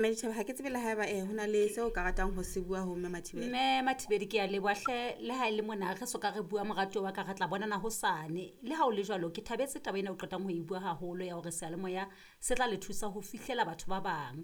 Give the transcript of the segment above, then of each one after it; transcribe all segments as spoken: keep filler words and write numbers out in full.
Mme Dithebe, ha ke tsebe le haeba eh ho na le seo o ka ratang ho se bua ho Mme Mathibeli. Mme Mathibedi, ke a leboha hle. Le ha e le mona re soka re bua, moratuwa wa ka, re tla bonana hosane. Le ha o le jwalo, ke thabetse taba ena o qetang ho e bua haholo ya hore seyalemoya se tla le thusa ho fihlela batho ba bang,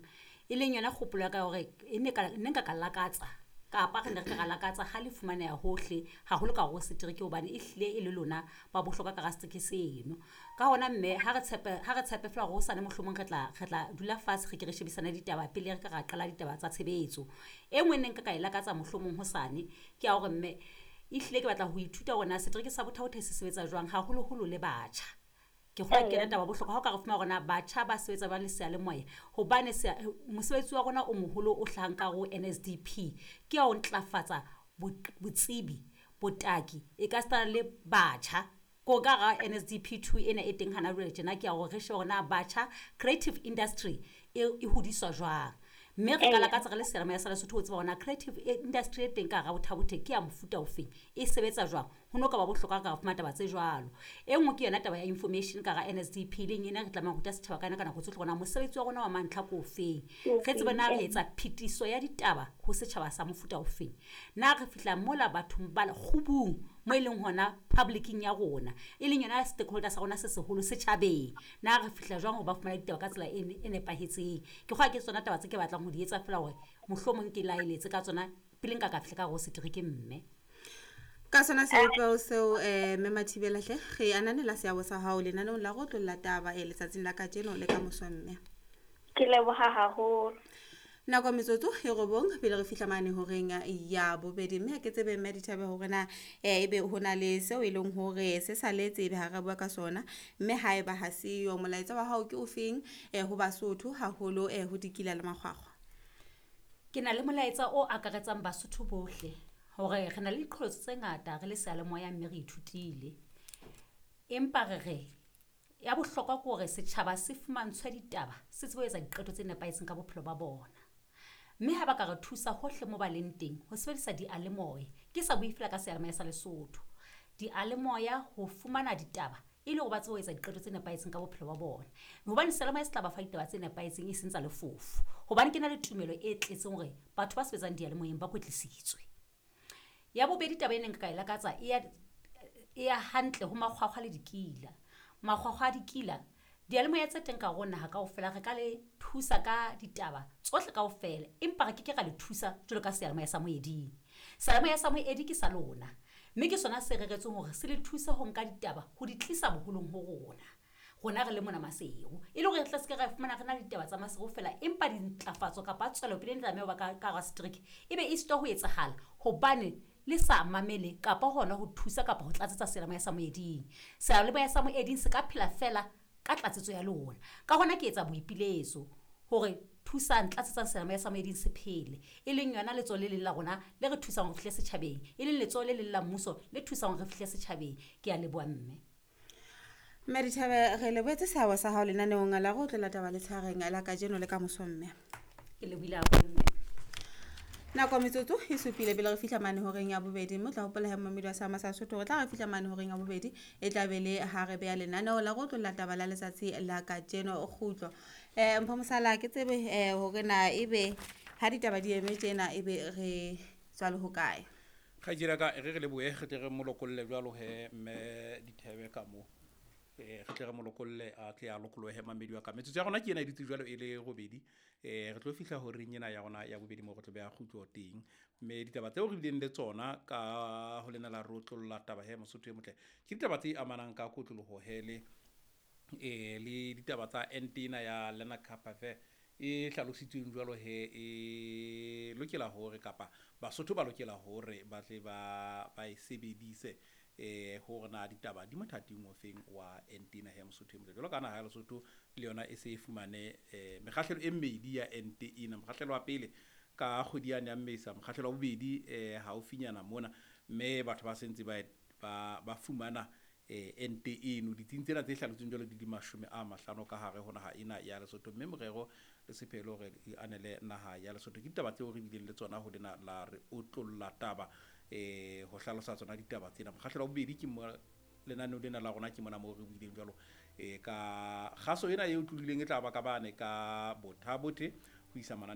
e leng yona kgopolo ya ka ya hore e ne ka ne nka ka lakatsa kapa re ne re ka ra lakatsa ha le fumaneha hohle haholo ka hare ho setereke, hobane e hlile e le lona ba bohlokwa ka hara setereke seno. Ka hona mme ha re tshepe, ha re tshepe feela hore hosane mohlomong re tla re tla dula fatshe, re ke re shebisane ditaba pele re ka ra qala ditaba tsa tshebetso. E nngwe ne nka ka e lakatsa mohlomong hosane ke ya hore mme ehlile ke batla ho ithuta hore na setereke sa Botha-Bothe se sebetsa jwang, haholoholo le batjha. Ke kgolwa ke yona taba ya bohlokwa ha o ka re fumana hore na batjha ba sebetsa jwang le seyalemoya, hobane mosebetsi wa rona o moholo o hlahang ka hare ho N S D P ke ya ho ntlafatsa botsebi, botaki e ka sitana le batjha. Ko ka hara N S D P two ena e teng hana jwale tjena, ke ya hore re shebe hore na batjha creative industry e e hodiswa jwang, mme re ka lakatsa re le seyalemoya sa Lesotho ho tseba hore na creative industry e teng ka hara Botha-Bothe ke ya mofuta ofeng, e sebetsa jwang. Ho no ka ba bohlokwa re ka fumana taba tse jwalo. E nngwe ke yona taba ya information ka hara N S D P, e leng ena re tlamehang ho ruta setjhaba ka yona ka nako tsohle hore na mosebetsi wa rona wa mantlha ke ofeng, re tsebe na re etsa phetiso ya ditaba ho setjhaba sa mofuta ofeng, na re fihla mola bathong ba kgubung mo e leng hona public-ing ya rona, e leng yona stakeholder sa rona se seholo setjhabeng, na re fihla jwang hore ba fumane ditaba ka tsela e e nepahetseng. Ke kgolwa ke tsona taba tse ke batlang ho di etsa feela hore mohlomong ke laeletse ka tsona pele nka ka fihla ka hare ho setereke mme. Ka sona sebopeho seo, eh Mme Mathibela hle, re ananela seabo sa hao lenaneong la go tlolla taba eh letsatsing la kajeno le ka moso, mme. Ke leboha haholo. Nako metsotso e robong pele re fihla mane horeng ya bobedi, mme ha ke tsebe, Mme Dithabe, hore na eh ebe ho na le seo e leng hore se saletse ebe ha re bua ka sona, mme haeba ha seyo, molaetsa wa hao ke ofeng eh ho Basotho, haholo eh ho Dikila le Makgwakgwa? Ke na le molaetsa o akaretsang Basotho bohle hore re na le diqholotso tse ngata re le seyalemoya, mme re ithutile, empa re re ya bohlokwa ke hore setjhaba se fumantshwe ditaba, se tsebe ho etsa diqeto tse nepahetseng ka bophelo ba bona. Mme ha ba ka re thusa hohle mo ba leng teng ho sebedisa dialemoya, ke sa bue feela ka seyalemoya sa Lesotho, dialemoya ho fumana ditaba e le hore ba tsebe ho etsa diqeto tse nepahetseng ka bophelo ba bona, hobane seyalemoya se tla ba fa ditaba tse nepahetseng, e seng tsa lefofo, hobane ke na le tumelo e tletseng hore batho ba sebetsang diyalemoyeng ba kwetlisitswe. Ya bobedi, taba e neng nka e lakatsa e ya e ya hantle ho Makgwakgwa le Dikila. Makgwakgwa a Dikila, diyalemoya tse teng ka hare ho naha kaofela re ka le thusa ka ditaba tsohle kaofela, empa re ke ke ra le thusa jwalo ka seyalemoya sa moeding. Seyalemoya sa moedi ke sa lona, mme ke sona se reretsweng hore se le thuse ho nka ditaba ho di tlisa boholong ho rona, rona re le mona Maseru, e le hore re tla se ke ra fumana re na le ditaba tsa Maseru feela, empa dintlafatso kapa tswelopele e tlameha ho ba ka ka hara setereke e be e sitwa ho etsahala hobane le sa mamele kapa hona ho thusa kapa ho tlatsetsa seyalemoya sa moeding. Seyalemoya sa moeding se ka phela feela ka tlatsetso ya lona. Ka hona ke etsa boipiletso hore thusang, tlatsetsang seyalemoya sa moeding se phele, e leng yona letsoho le leng la rona le re thusang hore fihle setjhabeng, e leng letsoho le leng la mmuso le thusang hore re fihle setjhabeng. Ke a leboha, mme. Mme Dithabe, re lebohetse seabo sa hao lenaneong la go tlolla taba letshareng la kajeno le ka moso, mme. Ke lebohile haholo, mme. Nako metsotso e supile pele re fihla mane horeng ya bobedi, mme o tla hopola he, momedi wa seama sa Sotho, re tla re fihla mane horeng ya bobedi e tla be le ha re beha lenaneo la go tlolla taba la letsatsi la kajeno kgutlo. um Mpho Mosala, ke tsebe um hore na ebe ha ditaba di eme tjena, ebe re tswa le hokae? Kgaitsedi ka re re lebohe, re tle re mo lokolle jwalo he mme Dithebe ka mo eh re tle re mo lokolle, a tle a lokolohe. Mamedi wa ka, metsotso ya rona ke ena e dutse jwalo e le robedi. eh re tlo fihla horeng ena ya rona ya bobedi mo re tlo beha kgutlo teng, mme ditaba tseo re bileng le tsona ka ho lena la re otlolla taba he, Mosotho e motle, ke ditaba tse amanang ka kotloloho he le eh le ditaba tsa ente ena ya Lenacapavir e hlalositsweng jwalo he e lokela hore kapa Basotho ba lokela hore ba tle ba ba e sebedise, eh hore na ditaba di mothating ofeng wa ente ena he, Mosotho e motle. Jwalo ka naha ya Lesotho le yona e se e fumane eh mekgahlelo e mmedi ya ente ena, mokgahlelo wa pele ka kgwedi yane ya Mmesa, mokgahlelo wa bobedi eh haufinyana mona, mme batho ba sentse ba ba ba fumana eh ente eno ditsing tsena tse hlalositsweng jwalo di di mashome a mahlano ka hare ho naha ena ya Lesotho, mme morero le sephelo hore e anele naha ya Lesotho. Ke ditaba tseo re bileng le tsona ho lena la re otlolla taba eh ho hlalosa tsona ditaba tsena. Mokgahlelo wa bobedi ke mo lenaneo lena la rona, ke mona moo re buileng jwalo eh ka kgaso ena e tlohileng e tla ba ka bane ka Botha-Bothe. ho isa manane.